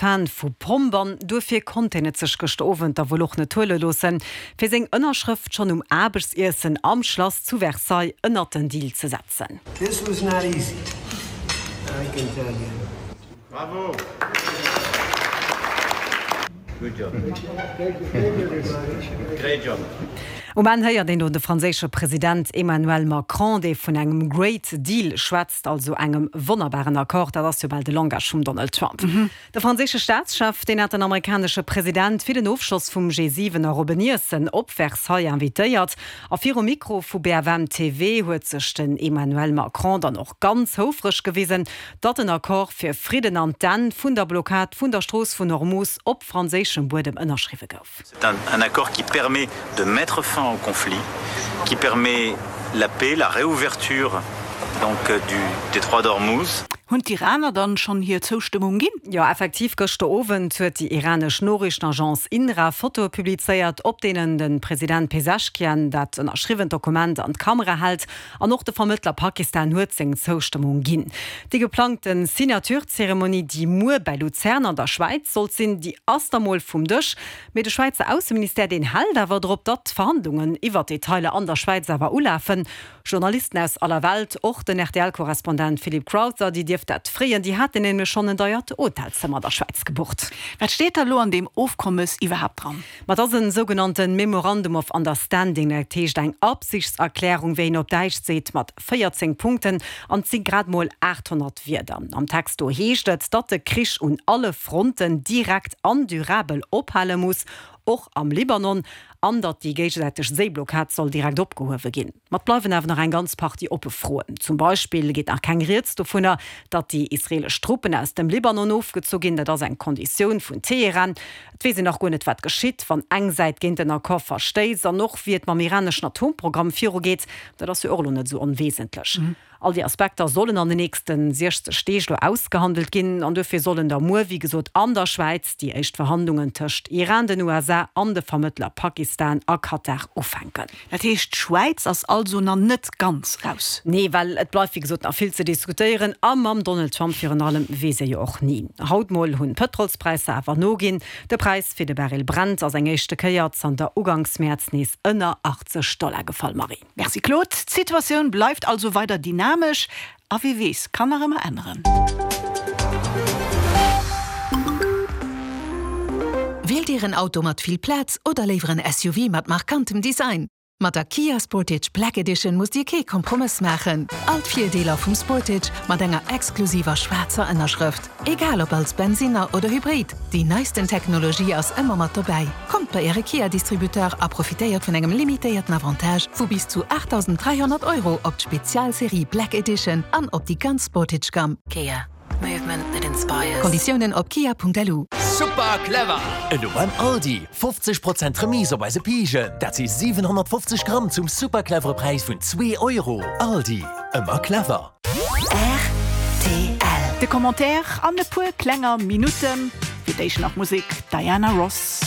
Fan vu Pomp an duerfir konnt hien et sech gëschter Owend da wuel och net huele loossen, fir seng Ënnerschrëft schonn um Aarbechtsiessen am Schlass zu Versailles ënnert den Deal ze setzen. This was not easy, I can tell you. Bravo! Good job. Great job. Um Enn héiert een do de franséische President Emmanuel Macron, dee vun engem Great Deal schwätzt, also engem wonnerbaren Accord. Dat ass jo bal de Langage vum Donald Trump. De franséische Staatschef, deen hat den amerikanesche President fir den Ofschloss vum G7 a op en Iessen op Versailles invitéiert. A virum Mikro vu BFM TV huet sech den Emmanuel Macron dann och ganz houfreg gewisen, datt en Accord fir Fridden an d'Enn vun der Blockad vun der Strooss vun Hormuz op franséischem Buedem ënnerschriwwe gouf. C'est un accord qui permet de mettre fin au conflit, qui permet la paix, la réouverture donc du détroit d'Ormuz. Hunn d'Iraner dann schonn hir Zoustëmmung ginn? Jo, effektiv, gëschter Owend huet déi iranesch Noriichtenagence INRA Fotoe publizéiert, op deenen de President Peseschkian dat ënnerschriwwent Dokument an d'Kamera hält. An och de Vermëttler Pakistan huet seng Zoustëmmung ginn. Déi geplangte Signature-Zeremonie, déi muer bäi Luzern an der Schwäiz sollt sinn, déi ass da mol vum Dësch. Mee de Schwäizer Ausseministère, deen hält awer drop, datt d'Verhandlungen iwwer d'Detailer an der Schwäiz awer ulafen. Journalisten aus aller Welt, och den RTL-Korrespondent Philip Crowther, déi dierft dat freeën. Déi haten nämlech schonn en deiert Hotelzëmmer an der Schwäiz gebucht. Wat steet da lo an deem Ofkommes iwwerhaapt dran? Ma et ass en sougenannte Memorandum of Understanding, dat heescht eng Absichtserklärung, wéi een op Däitsch seet, mat 14 Punkten, an et si grad mol 800 Wierder. Am Text do heescht et, datt de Krich un alle Fronten direkt an durabel ophale muss, och am Libanon, an datt déi géigesäiteg Séiblockad soll direkt opgehuewe ginn. Ma et bleiwen awer nach eng ganz Partie oppe Froen. Zum Beispill geet nach keng Rieds dovunner, datt déi israeelesch Truppen aus dem Libanon ofgezu ginn. Dat ass eng Konditioun vun Teheran. Et weess een nach guer net, wat geschitt, wann eng Säit géint den Accord verstéisst. An och wéi et mam iraneschen Atomprogramm virugeet, dat ass jo och elo net esou onwesentlech. All déi Aspekter sollen an den nächste 60 Deeg elo ausgehandelt ginn. An duerfir sollen da muer, wéi gesot, an der Schwäiz déi éischt Verhandlungen tëscht Iran, den USA an de Vermëttler Pakistan a Katar ufänken. Dat heescht, d'Schwäiz ass also nach net ganz raus? Nee, well et bleift wéi gesot nach vill ze diskutéieren. A mam Donald Trump virun allem weess ee jo och ni. Haut mol hunn d'Pëtrolspräisser awer noginn. De Präis fir de Baril Brent ass eng éischte Kéier zanter uganks Mäerz nees ënner 80 Dollar gefall. Marie. Merci Claude. D'Situatioun bleift also weider dynamesch a wie weess, kann nach ëmmer änneren. Wielt Dir en Auto mat vill Plaz oder léiwer en SUV mat markantem Design? Mat der Kia Sportage Black Edition musst Dir kee Kompromëss maachen. All d'Virdeeler vum Sportage mat enger exklusiver schwaarzer Ënnerschrëft. Egal ob als Bensinner oder Hybrid, déi neisten Technologie ass ëmmer mat dobäi. Kommt bei Äre Kia-Distributeur a profitéiert vun engem limitéierten Avantage vu bis zu 8.300 Euro op d'Spezialserie Black Edition an op déi ganz Sportage-Gamm. Kia. Movement that inspires. Konditiounen op kia.lu. Super clever! Elo beim Aldi, 50 Prozent Remise op eise Pijen, dat si 750 Gramm zum super clevere Präis vun zwee Euro. Aldi, ëmmer clever. Rtl. De Commentaire an e puer klenger Minutten. Fir d'éischt nach Musek, Diana Ross.